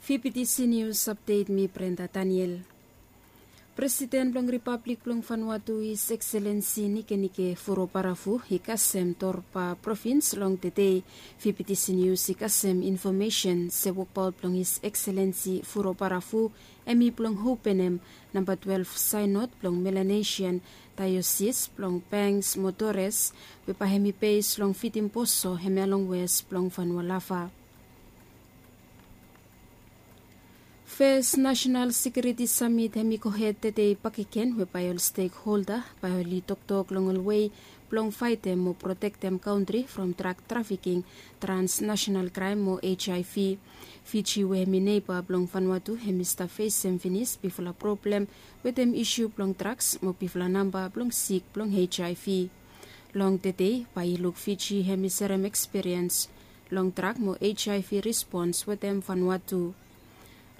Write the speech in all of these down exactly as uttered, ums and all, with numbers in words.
Fibitisi nius apdet, mi Brenda Daniel. Presiden blong Ripablik blong Vanuatu, His Excellency Nikenike Vurobaravu, i kasem Torba provins long tede. Fibitisi nius i kasem infomesen se wokbaot blong His Excellency Vurobaravu hemi blong openem namba twelef saenod blong Melanesian Daiosis blong Banks mo Torres, we bae hemi bes long Vitimboso, hemia long wes blong Vanua Lava. Fes Nasenal Sekiuriti Samit hemi gohed tede bakegen, we bae ol stekholda bae oli toktok long ol wei blong faetem mo protektem kantri from drag trafiking, transnasenal kraem mo HIV. Fiji, we hemi neba blong Vanuatu, hemi stap fesem finis bigfala problem wetem isu blong drags mo bigfala namba blong sik blong HIV. Long tede bae i luk Fiji hemi serem ekspiriens long drag mo HIV rispons wetem Vanuatu.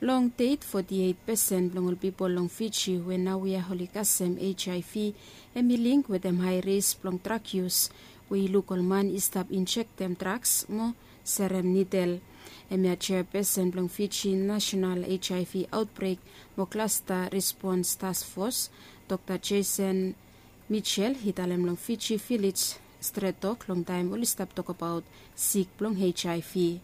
Long det, foti eit pesen blong ol pipol long Fiji we naoia oli kasem HIV hemi link wetem hae ris blong drag yus, we i luk ol man i stap injektem drags mo serem nidel. Hemia jeapesen blong Fiji Nasenal HIV Aotbrek mo Klasta Rispons Task Fos, Dokta Jason Mitchell, i talem long Fiji Village Stret Tok long taem oli stap tokbaot sik blong HIV.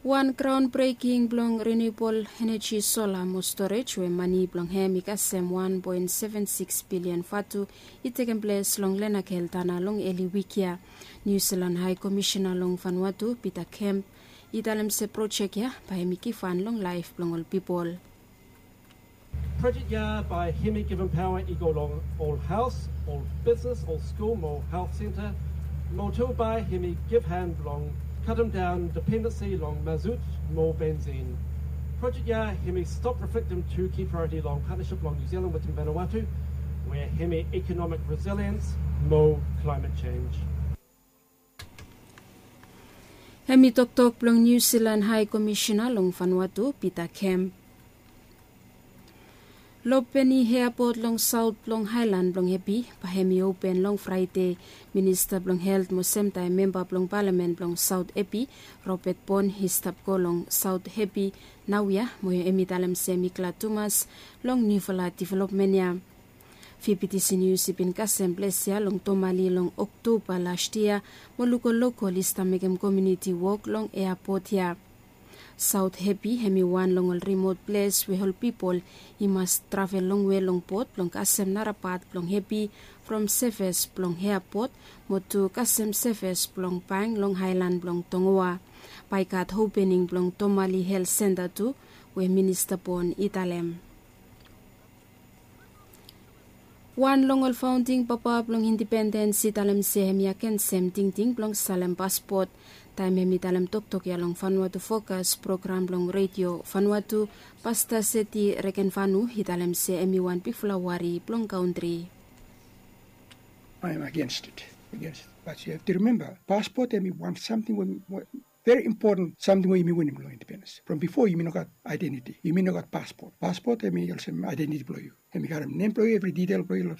Wan graon breking blong renewable energy sola mo storej, we mane blong hem i kasem wan poen seven sikis bilian vatu, i tekem ples long Lenakel Tana long eli wik ya. Niu Silan Hae Komisena long Vanuatu, Peter Kemp, i talem se projek ya bae hemi givhan long laef blong ol pipol. Projek ya bae hemi givim paoa i go long ol haos, ol bisnes, ol skul mo helt senta. Mo tu bae hemi givhan blong kademdaon dipendensi long mazut mo bensin. Projek ya hemi stap reflektem tu ki praeoriti long patnasip blong Niu Silan wetem Vanuatu, we hemi ikonomik resiliens mo klaemet jenj. Hemi toktok blong Niu Silan Hae Komisena long Vanuatu, Peter Kemp. Lopeni eapot long saot blong aelan blong Hepi bae hemi open long Fraede. Minista blong Helt mo semtaem memba blong palamen blong Saot Hepi, Robert Pon, i stap go long Saot Hepi naoia mo hemi talem se hemi glad tumas long niufala developmen ya. Fibitisi Nius i bin kasem ples ya long Tomali long Oktoba las yia mo luk ol lokol i stap mekem komuniti wok long eapot ya. Saot Hepi hemi wan long ol rimot ples we ol pipol i mas travel longwe long bot blong kasem nara pat blong Hepi from sevis blong eapot mo tu kasem sevis blong bank long aelan blong Tongoa. Bae i gat opening blong Tomali Helt Senta tu, we Minista Pon i talem. Wan long ol faonding papa blong indipendens i talem se hemi agensem tingting blong salem paspot. Taem hemi talem toktok ya long Vanuatu Fokas program blong Redio Vanuatu, Pasta Seti Rekenvanu i talem se hemi wan bigfala wari blong kantri. I am against it. Against it. But you have to remember, paspot hemi wan samting we, we very important samting we yumi winim long independens. From before yumi no gat identity, yumi no gat paspot. Paspot hemi olsem identity blong yu. Hemi karem nem blong yu, evri ditel blong yu long